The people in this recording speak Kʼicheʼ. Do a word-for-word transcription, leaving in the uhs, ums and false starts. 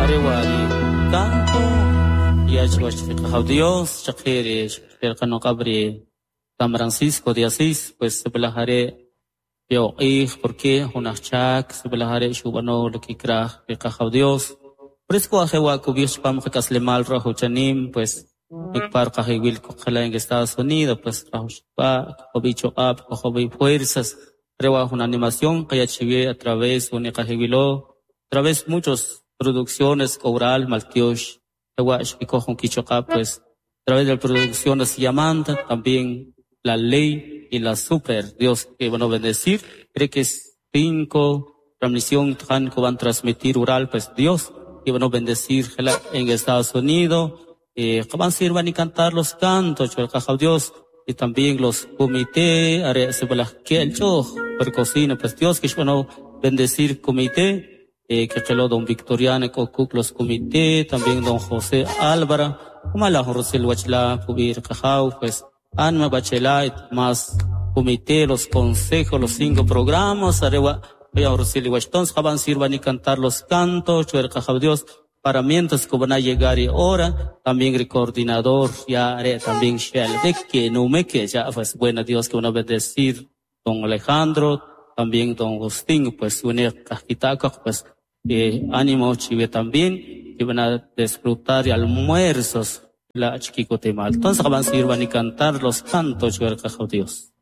Arewari canto y Dios chakiri Qabri San Francisco de Asís pues sebelahare yoqij porque hunachak sebelahare shubano lo kikraj riqajaw Dios por eso ajewa kubir pam qakaslemal rojo chanim pues ikpar qajiwil kuqala en Estados Unidos pues rajushpa qobicho ap qobi fuerzas rewa una animación que a través uniqajiwilo a través muchos producciones oral maltiosh pues a través de la producciones Yamanta también la ley y la super Dios que van a bendecir cree que es cinco transmisión que van a transmitir oral pues Dios que van a bendecir en Estados Unidos eh van sirvan y cantar los cantos Dios y también los comités per cocina pues Dios que van a bendecir comité eh, que quedó don Victoriano Cocuc los comité, también don José Álvaro, como la Rosel Wachla, Pubir Cajau, pues Anma Bachela, más comité, los consejos, los cinco programas, Arewa, Rosel Wachton, Jaban sirvan y cantar los cantos, Chuer Cajau Dios, para mientras que van a llegar y hora, también el coordinador, ya haré también Shelbek, que no me que ya, pues buena Dios que van a bendecir don Alejandro, también don Agustín, pues une Cajitaca, pues eh, ánimo chive también, que van a disfrutar y almuerzos la chiquicotemal. Entonces van a sirvan y cantar los cantos, Dios.